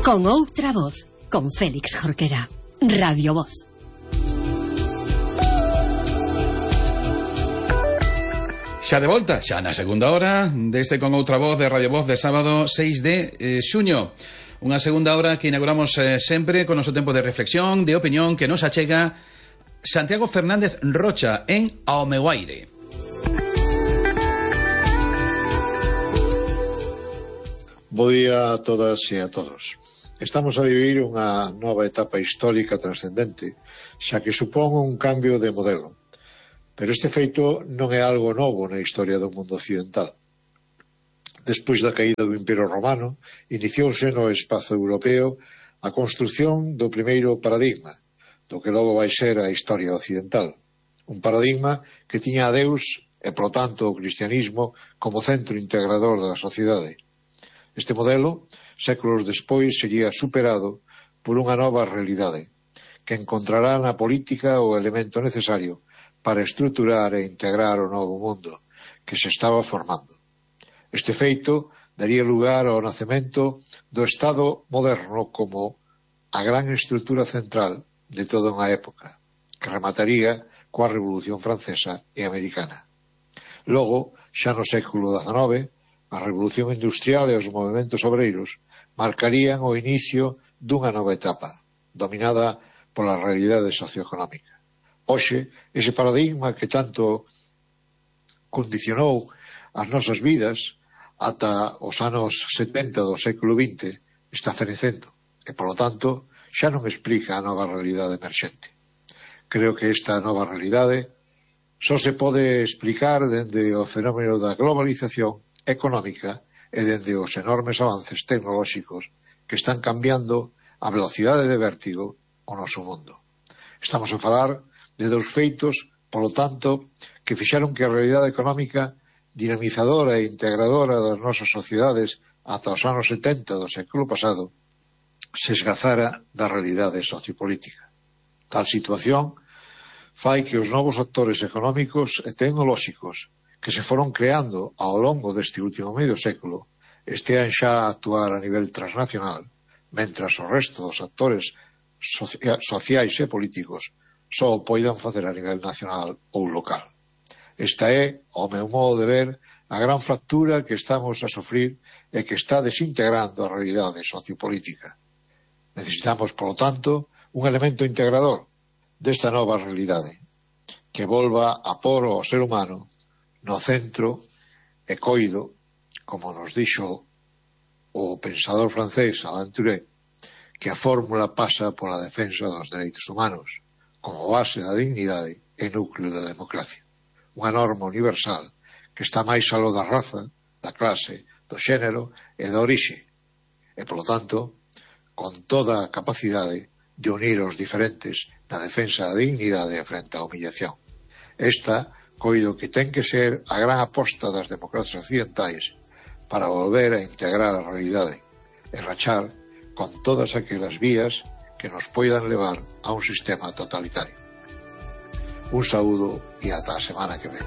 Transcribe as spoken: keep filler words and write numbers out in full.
Con outra voz, con Félix Jorquera. Radio Voz. Xa de volta, xa na segunda hora deste Con outra voz de Radio Voz de sábado seis de xuño. Unha segunda hora que inauguramos eh, sempre con noso tempo de reflexión, de opinión, que nos achega Santiago Fernández Rocha en Ao meu aire. Bo día a todas e a todos. Estamos a vivir unha nova etapa histórica trascendente, xa que supón un cambio de modelo. Pero este feito non é algo novo na historia do mundo occidental. Despois da caída do Imperio Romano, iniciouse no espazo europeo a construción do primeiro paradigma, do que logo vai ser a historia occidental. Un paradigma que tiña a Deus e, polo tanto, o cristianismo como centro integrador da sociedade. Este modelo, séculos despois, sería superado por unha nova realidade, que encontrará na política o elemento necesario para estruturar e integrar o novo mundo que se estaba formando. Este feito daría lugar ao nacemento do Estado moderno como a gran estrutura central de toda unha época, que remataría coa Revolución Francesa e Americana. Logo, xa no século dezenove, a Revolución Industrial e os movementos obreiros marcarían o inicio dunha nova etapa, dominada pola realidade socioeconómica. Hoxe, ese paradigma que tanto condicionou as nosas vidas ata os anos setenta do século vinte está fenecendo e, polo tanto, xa non explica a nova realidade emerxente. Creo que esta nova realidade só se pode explicar dende o fenómeno da globalización económica e dende os enormes avances tecnolóxicos que están cambiando a velocidade de vértigo o noso mundo. Estamos a falar de dous feitos, polo tanto, que fixaron que a realidade económica dinamizadora e integradora das nosas sociedades ata os anos setenta do século pasado se esgazara da realidade sociopolítica. Tal situación fai que os novos actores económicos e tecnolóxicos que se foron creando ao longo deste último medio século estean xa a actuar a nivel transnacional, mentras o resto dos actores sociais e políticos só o poidan facer a nivel nacional ou local. Esta é, ao meu modo de ver, a gran fractura que estamos a sofrir e que está desintegrando a realidade sociopolítica. Necesitamos, polo tanto, un elemento integrador desta nova realidade, que volva a por ao ser humano no centro e coido, como nos dixo o pensador francés Alain Touré, que a fórmula pasa pola defensa dos dereitos humanos, como base da dignidade e núcleo da democracia. Unha norma universal que está máis aló da raza, da clase, do xénero e da orixe, e, polo tanto, con toda a capacidade de unir os diferentes na defensa da dignidade frente á humillación. Esta coido que ten que ser a gran aposta das democracias occidentais para volver a integrar a realidade e rachar con todas aquelas vías que nos poidan levar a un sistema totalitario. Un saúdo e ata a semana que ven.